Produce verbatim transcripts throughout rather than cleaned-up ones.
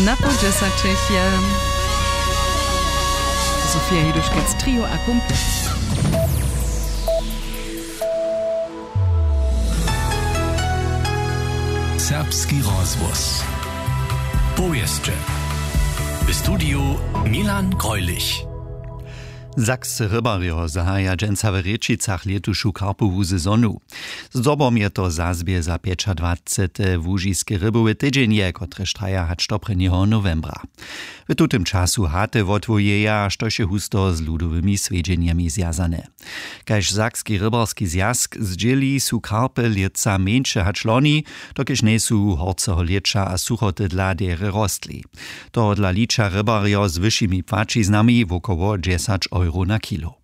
Na poł dźesaćich je Sofia Hiduškec, Trio a Kumpel. Serbski rozhłos. Powěsće. W studiju Milan Greulich. Sakscy rybarjo zahaja dźensa w Rěčicach lětušu karpowu sezonu. Zdobom je to zazbě za pjećadwacete łužiske rybowe tydźenje, kotrež traja hač do prěnjeho nowembra. W tutym času haty wotwójeja, štož je husto z ludowymi swjedźenjemi zwjazane. Kaž Sakski rybarski zwjazk zdźěli, su karpy lětsa mjeńše hač loni, dokelž njejsu horceho lěća a suchoty dla derje rostli. Tohodla liča rybarjo z wyšimi płaćiznami wokoło dźesać euro na kilo.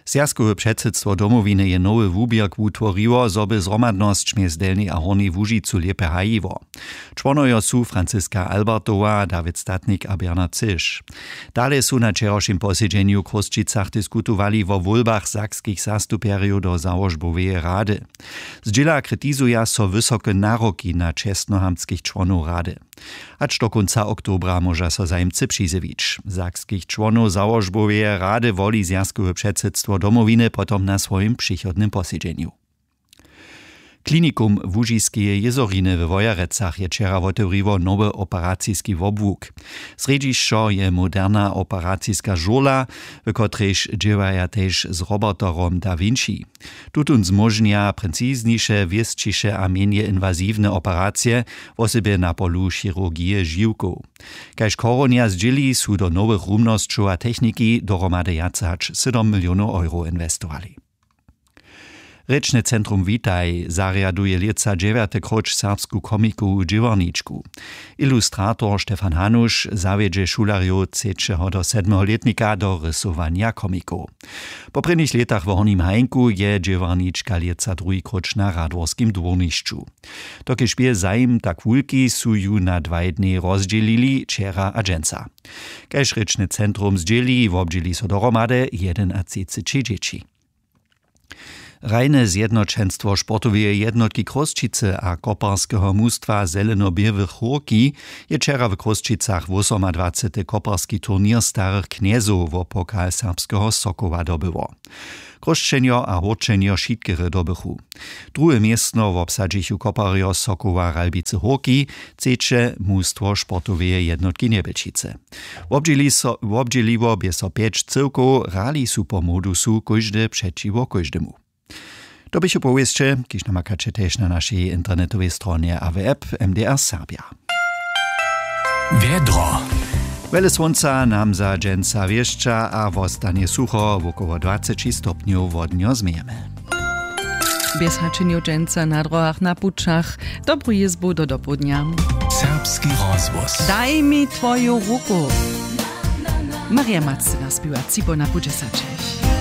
Zwjazkowe předsydstwo Domowiny je nowy wuběrk wutworiło, zo by zhromadnosć mjez Delnjej a Hornjej Łužicu lěpje hajiło. Čłonojo su Franciska Albertowa, Dawid Statnik a Bernard Cyš. Dale su na wčerawšim posedźenju w Chrósćicach diskutowali wo wólbach sakskich zastupjerjow do załožboweje rady. Zdźěla kritizuja so wysoke naroki na čestnohamtskich čłonow rady. Hač do kónca oktobra móža so zajimcy přizjewić. Sakskich čłonow załožboweje rady woli zwjazkowe předsydstwo Domowiny potom na swojim přichodnym posedźenju. Klinikum Łužiskeje jězoriny we Wojerecach je wčera wotewriło nowy operaciski wobłuk. Srjedźišćo je moderna operaciska žurla, w kotrejž dźěłaja tež z roboterom Da Vinci. Tutón zmóžnja precizniše, wěsćiše a mjenje inwaziwne operacije, wosebje na polu chirurgije žiwkow. Kaž Chorownja zdźěli, su do nowych rumnosćow a techniki dohromady wjace hač sydom milionow euro inwestowali. Rěčne centrum Witaj zarjaduje lětsa dźewjate króć serbsku komikowu dźěłarničku. Ilustrator Stefan Hanuš zawjedźe šulerjow třećeho do sedmeho lětnika do rysowanja komikow. Po prěnich lětach w Hornim Hajnku je dźěłarnička lětsa druhi króć na radworskim dwórnišću. Dokelž bě zajim tak wulki, su ju na dwaj dnjej rozdźělili, wčera a dźensa. Kaž rěčne centrum zdźěli, wobdźěli so dohromady jedynatřiceći dźěći. Hrajne zjednoćenstwo sportoweje jednotki Chrósćicy a koparskeho mustwa Zeleno-běłych Hórki je wčera w Chrósćicach wosomadwacety koparski turněr starych knjezow wo pokal serbskeho Sokoła dobyło. Chrósćenjo a Hórćenjo wšitkery dobychu. Druhe městno wobsadźichu koparjo Sokoła Ralbicy Hórki, třeće mustwo sportoweje jednotki Njebjelčicy. Wobdźěli so-, wobdźěliło bě so pjeć cyłkow, hrali su po modusu kóždy přećiwo kóždemu. To běchu powěsće, kiž namakaće tež na našej internetowej stronje a w app M D R Serbja. Wjedro. Wjele słónca nam za dźensa wěšća a wostanje sucho, wokoło dwaceći stopnjow wodnjo změjemy. Bjez hačenjow dźensa na dróhach, na pućach. Dobru jězbu do dopołdnja. Serbski rozhłos. Daj mi twoju ruku. Marja Mac nas biła cipo na pół dźesaćich.